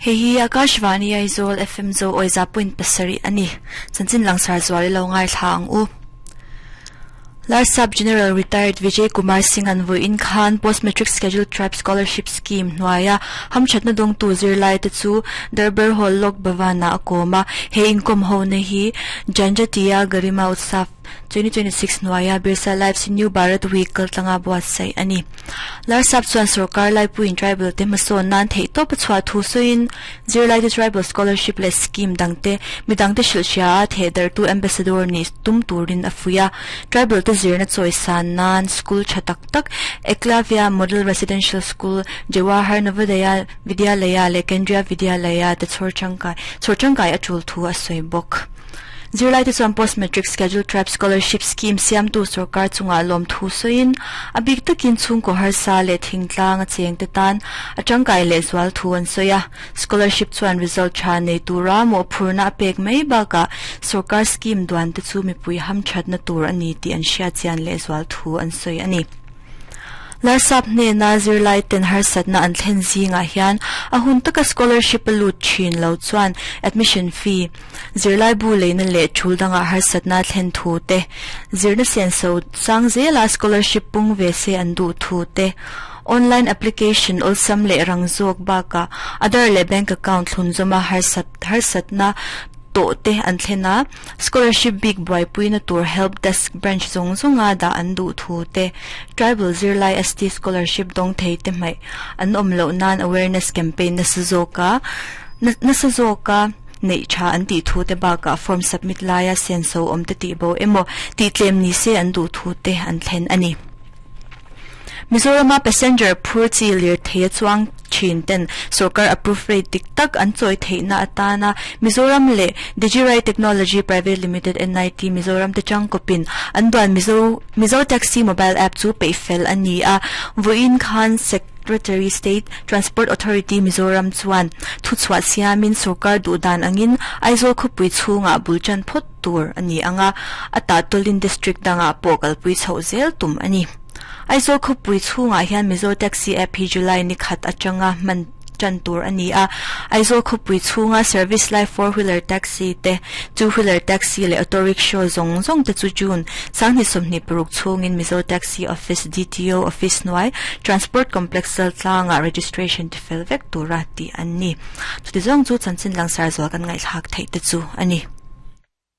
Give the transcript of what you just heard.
Hei hi Akashvani Aizawl FM Zo Awiza point pasarih a ni. Chanchin langsar zual i lo ngaithla ang u. Larsap General Retired Vijay Kumar Singh an vawiin khan Post Matric Scheduled Tribe Scholarship Scheme hnuaia hamthatna dawngtu zirlaite chu Darbar Hall Lok Bhavan-ah a kawm a. He inkawm hona hi Janjatiya Garima Utsav 2026 hnuaia Birsa Lives New Bharat Week kaltlanga buatsaih a ni. Larsap chuan sorkar laipuiin tribal te hmasawn nan theihtawp a chhuah thu sawiin zirlaite tribal scholarship leh scheme dangte midangte hrilhhria a thehdarhtu ambassador nih tum turin a fuih a. Tribal te zirna chawisan nan school tha tak tak Eklavya Model Residential School, Jawahar Navodaya Vidyalaya leh Kendriya Vidyalaya te chhawr tangkai chhawr tangkai a tul thu a sawi bawk. Zirlaite chuan Post Matric Scheduled Tribe Scholarship Scheme siamtu sorkar chungah lawmthu sawiin a bik takin chhungkaw harsa leh thingtlang a chengte tan a tangkai lehzual thu an sawi a. Scholarship chuan result tha nei tura mawhphurhna a pek mai bakah sorkar scheme duante chu mipui hamthatna tur a ni tih an hriatchian lehzual thu an sawi a ni. Larsap hnena zirlai ten harsatna an thlen zingah hian a hun taka scholarship a lut thin lo chuan admission fee, zirlaibu leina leh thul dangah harsatna a thlen thu te, zirna senso sang zela scholarship pung ve se an duh thu te, online application awlsam leh rang zawk bakah Aadhaar leh bank account thlun zawma harsatna tawh te an thlen a, scholarship bik buaipuina tur help desk branch zawng zawnga dah an duh thu te, tribal zirlai ST scholarship dawng thei te hmaih an awm loh nan awareness campaign nasa zawka nasa zawka neih tha an tih thu te bakah form submit laia senso awm te tih bo emaw tih tlem ni se an duh thu te an thlen a ni. Mizorama passenger phur chi lirthei a chuang thin ten sorkar approve rate dik tak an chawi theihna atana Mizoram leh Digirai Technology Private Limited NIT Mizoram te tangkawpin an duan Mizo Mizo Taxi Mobile App chu peih fel a ni a. Vawiin khan Secretary State Transport Authority Mizoram chuan thuchhuah siamin sorkar duhdan angin Aizawl khawpui chhungah bul tan phawt tur a ni ang a, a tahtawlin district dangah pawh kalpui chhoh zel tum a ni. Aizawl khawpui chhungah hian Mizo Taxi app hi July ni khat atanga hman tan tur a ni a, Aizawl khawpui chhunga service lai four wheeler taxi te, two wheeler taxi leh auto rickshaw zawng zawng te chu June sanghnih 26 chhungin Mizo Taxi Office DTO office hnuai Transport Complex Chaltlangah registration tifel vek tura tih an ni. Chuti zawng chu chanchin langsar zual kan ngaihthlak theih te chu a ni.